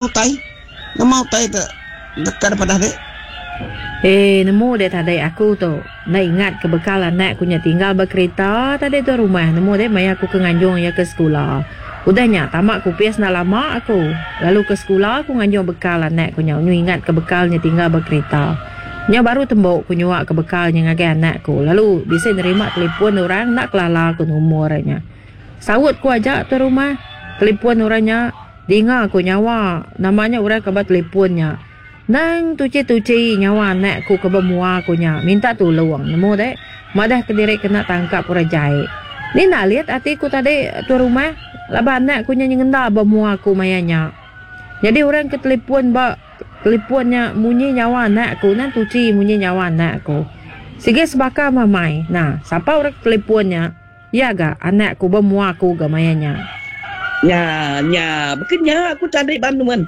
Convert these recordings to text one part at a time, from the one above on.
Utai? Nama utai te deka dipadah dek? Eh, nemu dek tadi aku tu. Enda ingat ke bekal anak ku nya tinggal ba kerita tadi tu rumah. Nemu dek maya aku ke nganjung iya ke sekula. Udah nya tama ke opis enda lama aku. Lalu ke sekula aku nganjung bekal anak ku nya. Nyu ingat ke bekal nya tinggal ba kerita. Nya baru tembu ku nyua ke bekal nya ngagai anak ku. Lalu bisi nerima telefon orang enda kelala ku numur nya. Saut ku aja tu rumah. Telefon orang nya. Dinga ku nyawa nama nya orang ke ba telefon nya. Nang tuchi-tuchi nyawa anak ku ke ba mua ku nya minta tulung nemu deh madah kediri kena tangkap orang jai. Ni nalit ati ku tadi tuan rumah laban anak ku nya nyengenda ba mua ku maya nya. Nyadi orang ke telefon ba telefon nya munyi nyawa anak ku nang tuchi munyi nyawa anak ku. Sigi sebaka mamai. Nah sapa orang ke telefon nya. Iya ga anak ku ba mua aku ga maya nya. Nya nya baka nya aku tadi ba nuan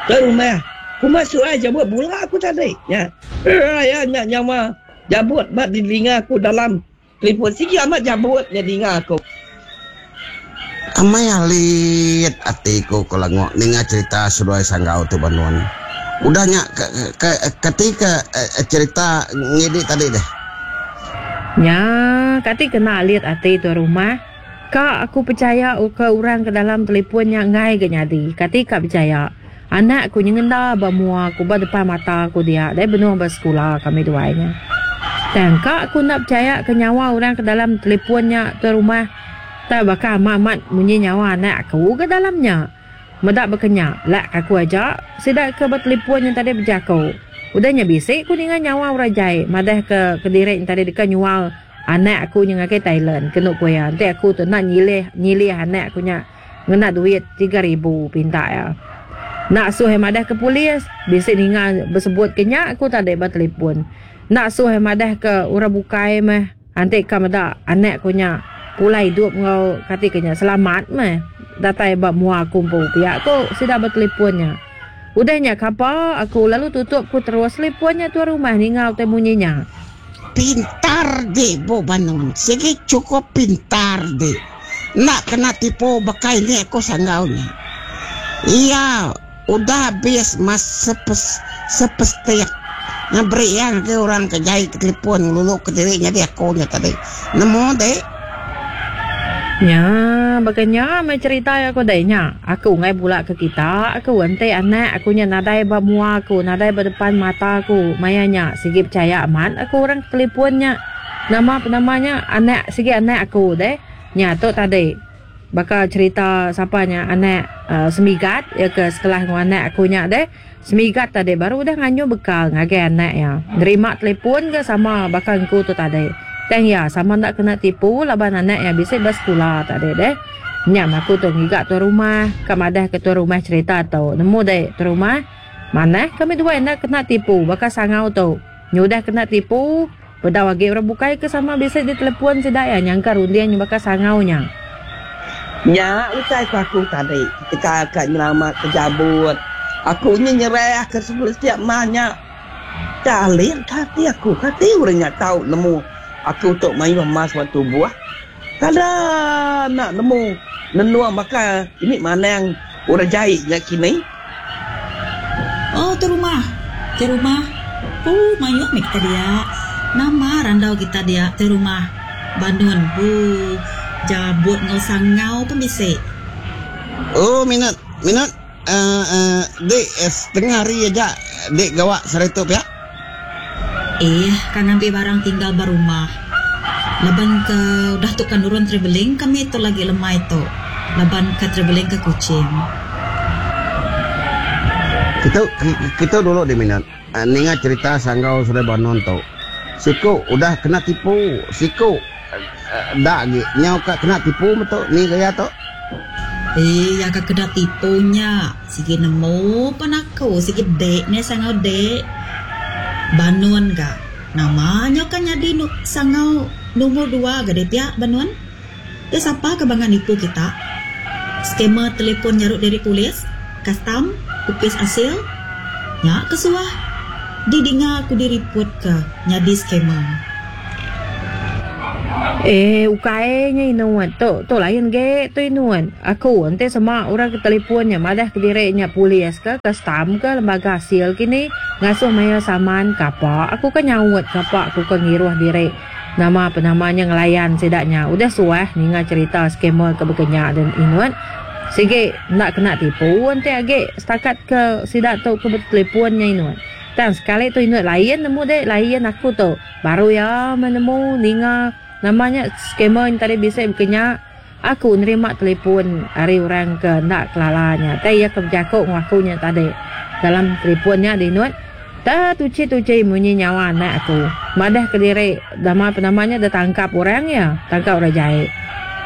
ke rumah kuma suai jabut bula aku tadi nya raya nya nyawa jabut ba didinga aku dalam telefon sigi amat jabut nya dinga aku. Amai alit ati ku ko Lango ninga cerita seduai Sanggau tu ba nuan. Udah nya ke kati ke cerita ngidi tadi deh. Nya, kati kena alit ati tuan rumah. Ka aku pechaya ke orang ke dalam telefon nya enggai ga nyadi. Kati ka pechaya. Anak ku nyengenda ba mua ku ba depan mata ku dia deh benung ba sekula kami duai nya. Tang ka aku enda pechaya ke nyawa orang ke dalam telefon nya tuan rumah. Tak baka amat amat munyi nyawa anak aku ga dalam nya. Meda baka nya, lak ka aku aja sida ke betelipun nya tadi bejaku. Udah nya bisi ku ninga nyawa orang jai madah ke kediri nya tadi deka nyual anak aku nya ngagai Thailand kenu ku iya enti aku tu enda nyilih nyilih anak aku nya ngena duit 3000 pinta iya. Enda asuh iya madah ke polis, bisi ninga besebut ke nya aku tadi ba telipun. Enda asuh iya madah ke orang bukai meh. Enti ka meda anak ku nya pulai idup enggau kati ke nya selamat meh datai ba mua aku empu pia ku sida betelipon nya. Udah nya kapa aku lalu tutup ku terus telipon nya tuan rumah ninga utai munyi nya. Pintar dik bu Banun sigi cukup pintar dik enda kena tipu baka ini aku sanggau nya. Iya. Udah abis mas sepestik nya beri iya ngagai orang ke jai ke telefon ngelulu ke diri nyadi aku nya tadi. Nemu dek. Nya baka nya meh cherita iya ko dek nya. Aku enggai bula ke kita aku enti anak aku nya nadai ba mua aku nadai ba depan mata aku maya nya sigi pechaya amat aku orang ke telefon nya. Nama penama nya anak sigi anak aku deh. Nya tu tadi. Baka cherita sapa nya anak Semigat iya ke sekelas enggau anak aku nya deh. Semigat tadi baru udah nganyuh bekal ngagai anak iya. Nerima telefon ga sama baka engku tu tadi. Tang iya sama enda kena tipu laban anak iya bisi ba sekula tadi deh. Nya meh aku tu ngiga tuan rumah ka madah ke tuan rumah cherita tu. Nemu deh tuan rumah manah kami duai enda kena tipu baka sangau tu. Nyudah kena tipu. Bedau agi orang bukai ke sama bisi ditelepon sida iya nyangka runding nya baka sangau nya. Nya utai ku aku tadi ketegal ka nyelamat ke jabut aku nya nyerah ke setiap mah nya. Tak alit ka ati aku kati orang nya tau nemu aku tu mayuh emas ba tubuh. Kada enda nemu nenung baka ini manang orang jai nya kini. Oh tu rumah. Ti rumah. Pu mayuh meh kita dia. Nama randau kita dia ti rumah. Banun pu jabut enggau sangau pun bisi. Oh minat minat uh, dik setengah hari aja dik gawa sehari tu pia. Ih ka ngambi barang tinggal ba rumah. Laban ke udah tu ka nurun travelling kami tu lagi lemai tu laban ka travelling ke Kuching. Kitu kitu dulu di minat ninga cerita Sanggau Sungai Banon tu. Siku udah kena tipu, siku enda agi nyau ka kena tipu metu ni gaya tu. Iya ka kena tipu nya. Sigi nemu pan aku sigi dek nih sangau dek. Banun ga. Nama nyau ka nyadi sangau numur dua ga deh pia Banun. Deh sapa ka bangat nipu kita. Scammer telefon nyarut diri polis, kastam, opis asil. Nya ke suah didinga aku diriput ka nyadi scammer. Eh ukai nya inut tu tu lain ge tu inut aku enti sema orang ke telefon nya madah kediri nya polis ke kastam ke lembaga asil kini ngasuh mayar saman kapa aku ke nyaut kapa aku ke ngiruh diri nama penama nya ngelayan sida nya udah suah ninga cherita scammer ke baka nya den inut sigi enda kena tipu enti agi setakat ke sida tu ke betelefon nya inut tang sekali tu inut lain nemu deh lain aku tu. Baru iya meh nemu ninga nama nya scammer nya tadi bisi baka nya. Aku nerima telefon ari orang ke enda kelala nya. Tai iya ke bejaku enggau aku nya tadi dalam telefon nya dinut. Te tuchi-tuchi munyi nyawa anak aku. Madah kediri nama penama nya ditangkap orang iya, tangkap orang jai.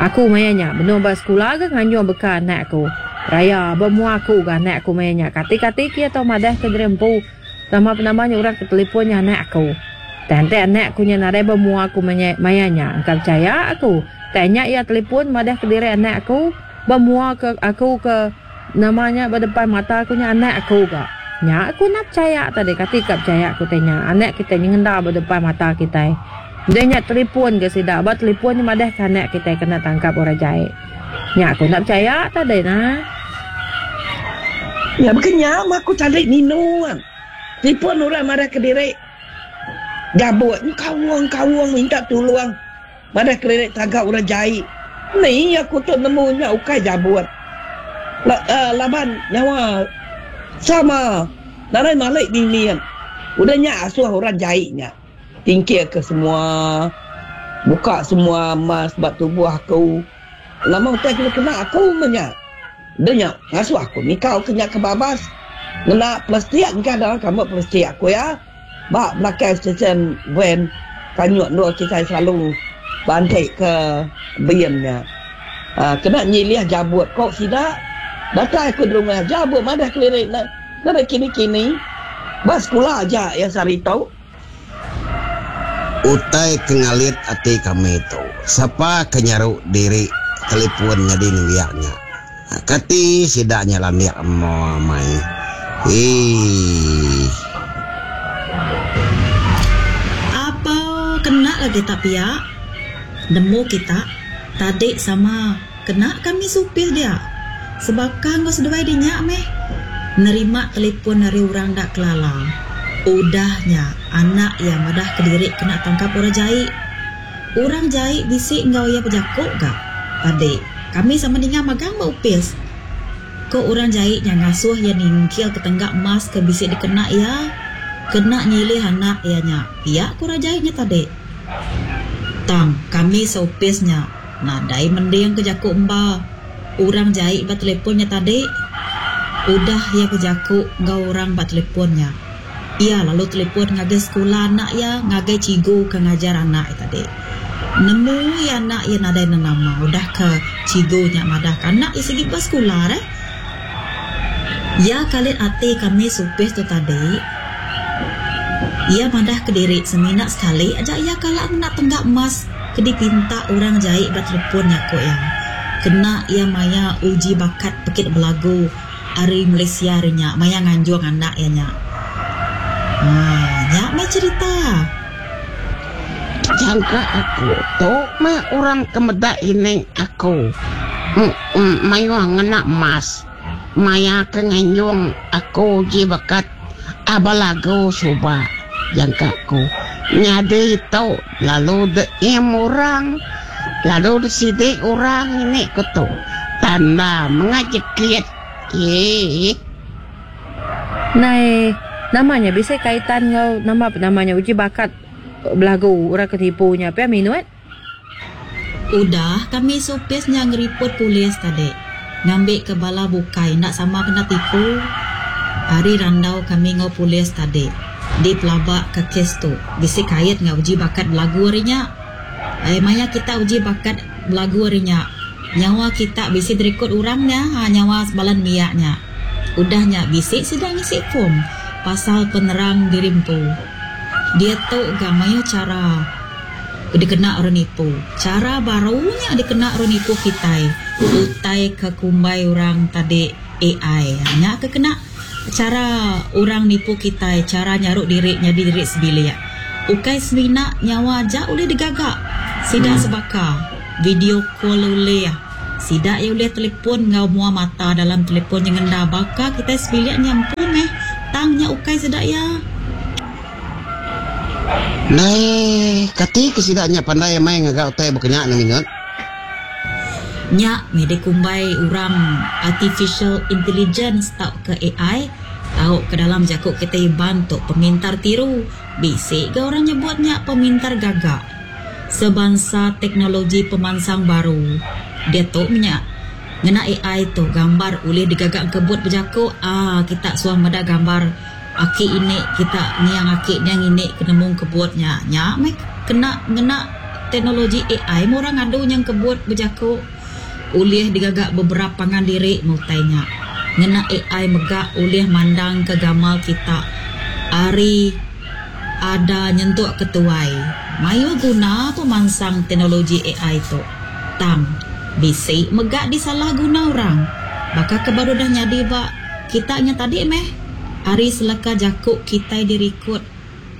Aku maya nya benung ba sekula ga nganjung beka anak aku. Raya ba mua aku ga anak aku maya nya. Kati-kati ke iya tau madah ke diri empu. Nama penama nya orang ke telefon nya anak aku. Tang enti anak aku nya nadai ba mua aku maya nya, engka pechaya aku. Tang nya iya telefon madah kediri anak aku ba mua ke aku ke nama nya ba depan mata aku nya anak aku ga. Nya aku enda pechaya tadi kati ka pechaya ku tai nya anak kitai nyengenda ba depan mata kitai. Udah nya telefon ga sida ba telefon nya madah ke anak kitai kena tangkap orang jai. Nya aku enda pechaya tadi nah. Nya baka nya mah aku tadi ninu. Telefon orang madah kediri gabut nyu kaung kaung minta tulung madah kediri taga orang jai. Ni aku tu nemu nya ukai jabut laban nyawa sama nadai malik mimit. Udah nya asuh orang jai nya. Tingkil ke semua, buka semua emas ba tubuh aku. Nama utai ke dikena aku meh nya. Deh nya ngasuh aku nikau ke nya ke babas ngena plastik engka dalam kambut plastik aku iya ba belakang stesen van kanyut endur kitai selalu banti ke bin nya. Aaa kena nyilih jabut ko sida datai aku derumah jabut madah keliri ne nadai kini-kini ba sekula aja iya sehari tu. Utai ke ngalit ati kami tu, sapa ke nyaru diri telefon nyadi nembiak nya. Kati sida nya landik emo amai. Eii. Apa kena lagi tak pia nemu kita tadi sama kena kami supir dia sebaka enggau seduai dinya meh nerima telefon ari orang enda kelala udah nya anak iya madah kediri kena tangkap orang jai. Orang jai bisi enggau iya bejaku ga tadi kami sama ninga magang ba opis. Ko orang jai nya ngasuh iya ningkil ke tengga emas ke bisi dikena iya kena nyilih anak iya nya pia ko orang jai nya tadi. Tang kami seopis nya Nadai mending ke jaku emba orang jai ba telefon nya tadi. Udah iya bejaku enggau orang ba telefon nya, iya lalu telefon ngagai sekula anak iya ngagai cikgu ke ngajar anak iya tadi. Nemu iya anak iya nadai nenama udah ke cikgu nya madahka anak iya sigi ba sekula deh. Iya kalit ati kami supis tu tadi. Iya madah kediri semina sekali aja iya kala ngena tengga emas ke dipinta orang jai ba telepon nya ku iya. Kena iya maya uji bakat pekit belagu ari Malaysia ari nya maya nganjung anak iya nya. Haa nya meh cherita. Jangka aku tu meh orang ke meda ini aku mayuh ngena emas maya ke nganjung aku uji bekat aba lagu suba jangka aku nyadi tu lalu deim orang lalu disidi orang ini ku tu tanda menga jekit eii. Nai nama nya bisi kaitan enggau nama penama nya uji bakat belagu orang ke tipu nya pia minut. Udah kami seopis nya ngeripot polis tadi ngambika bala bukai enda sama kena tipu. Ari randau kami enggau polis tadi dipelabaka kes tu bisi kait enggau uji bakat belagu ari nya. Ai maya kita uji bakat belagu ari nya nyawa kita bisi dirikod orang nya ha nyawa bala nembiak nya. Udah nya bisi sida ngisi form pasal penerang diri empu. Diatu ga mayuh chara dikena orang nipu. Chara baru nya dikena orang nipu kitai utai ke kumbai orang tadi AI. Nya ke kena chara orang nipu kitai chara nyaru diri nyadi diri sebilik. Ukai semina nyawa aja ulih digaga sida sebaka, video call ulih. Sida iya ulih telefon enggau mua mata dalam telefon nyengenda baka kitai sebilik nya empu meh tang nya ukai sida iya. Ndai kati ke sida nya pandai amai ngaga utai baka nya nang ingat. Nya meh dikumbai orang Artificial Intelligence tauka AI tauka dalam jaku kitai Iban tu pemintar tiru. Bisi ga orang nyebut nya pemintar gaga. Sebansa teknologi pemansang baru diatu menya ngena AI tu gambar ulih digaga engkebut bejaku aaa kita suah meda gambar aki ini kita niang aki niang ini ke nemu engkebut nya. Nya meh kena ngena teknologi AI meh orang ngadu nya engkebut bejaku ulih digaga beberap pangan diri meh utai nya. Ngena AI mega ulih mandangka gamal kita ari ada nyentuk ke tuai. Mayuh guna pemansang teknologi AI tu. Tang, bisi mega disalah guna orang. Baka ke baru udah nyadi ba kita nya tadi meh. Ari seleka jaku kitai dirikut,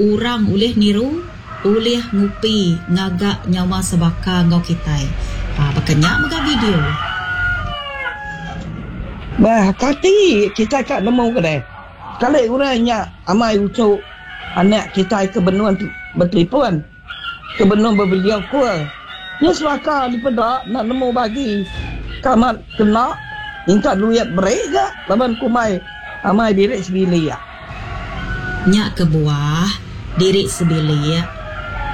orang ulih niru, ulih ngupi ngaga nyawa sebaka enggau kitai. Ha, baka nya mega video. Bah, kati kitai ka nemu ke deh. Sekali orang nya amai uchu anak kitai ke benung betelefon, ke benung bevideo call. Nya selaka dipeda enda nemu bagi ke amat kena minta duit beri ga laban kumbai amai diri sebilik. Nya kebuah diri sebilik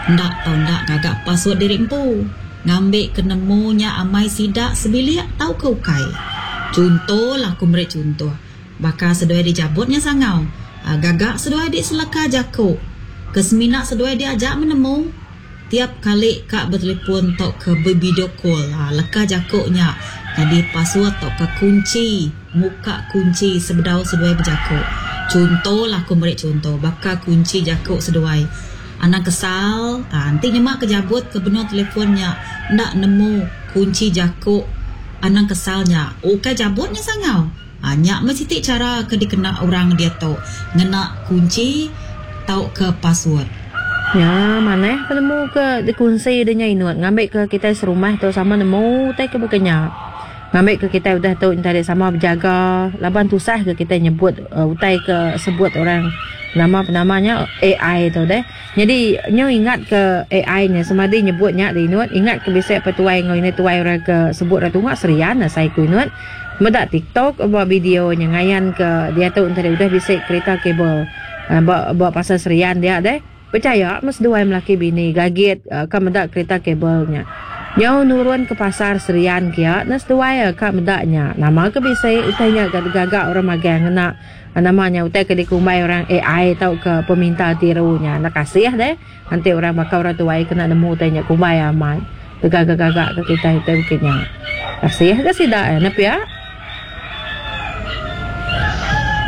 enda tau enda ngaga password diri empu ngambi ke nemu nya amai sida sebilik tauka ukai. Chunto lah aku meri chunto. Baka seduai dijabut nya sangau. Gaga seduai di seleka jaku. Ke semina seduai dia aja menemu. Tiap kali ka betelefon tauka bevideo call leka jaku nya nyadi password tauka kunchi muka kunchi sebedau seduai bejaku. Chunto lah aku meri chunto baka kunchi jaku seduai. Anang kesal enti nyema ke jabut ke benung telefon nya enda nemu kunchi jaku anang kesal nya ukai jabut nya sangau. Ha, nya meh siti chara ke dikena orang diatu ngena kunchi tauka password. Nya manah penemu ke dikunsi de nya inut ngambika kitai serumah tu sama nemu utai ke baka nya. Ngambika kitai udah tu enti sama bejaga laban tusah ga kitai nyebut utai ke sebut orang nama penama nya AI tu deh. Nyadi nyu ingat ke AI nya semadi nyebut nya de inut ingat ke bisi petuai enggau indai tuai orang ke sebut orang tunga serian asai ku inut. Meda tiktok ba video nya ngayan ke diatu enti udah bisi kerita kabel ba ba pasar Serian dia deh. Pechaya meh seduai melaki bini gagit ka meda kerita kabel nya. Nyau nurun ke pasar Serian kia ne seduai ka meda nya. Nama ke bisi utai nya ga digaga orang magang ngena nama nya utai ke dikumbai orang AI tauka peminta tiru nya. Enda kasih deh enti orang baka orang tuai kena nemu utai nya kumbai amat. Begaga-gaga ke kitai utai bukit nya. Kasih ga sida iya ne pia.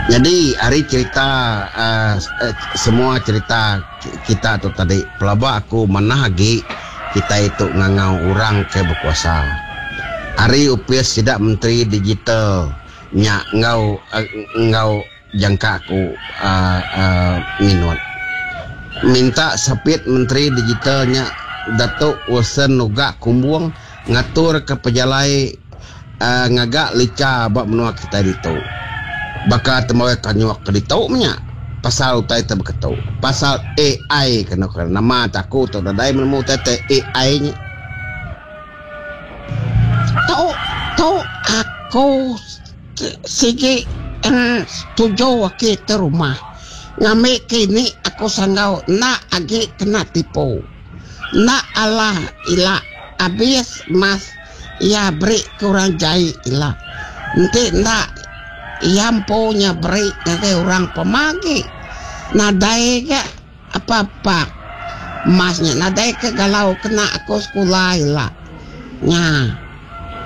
Nyadi ari cherita uhh semua cherita kita tu tadi pelaba aku manah agi kitai tu ngangau orang ke bekuasa. Ari opis sida menteri digital nya enggau enggau Jangka aku uhh minut. Minta Sapit Menteri Digital nya Datuk Wilson Nugak Kumbong ngaturka pejalai uhh ngaga licha ba menua kitai ditu. Baka tembawai kanyuk ke ditu menya pasal utai ti beketu. Pasal AI kenu ke nama te aku tu nadai menemu utai te AI nya. Tu tu aku. Sigi setuju agi ti rumah. Ngambi ke ini aku sanggau enda agi kena tipu. Enda alah ila abis mas iya beri ke orang jai ila. Enti enda iya empu nya beri ngagai orang pema agi. Nadai ga apa-apa mas nya nadai ke galau kena aku sekula ila. Nya.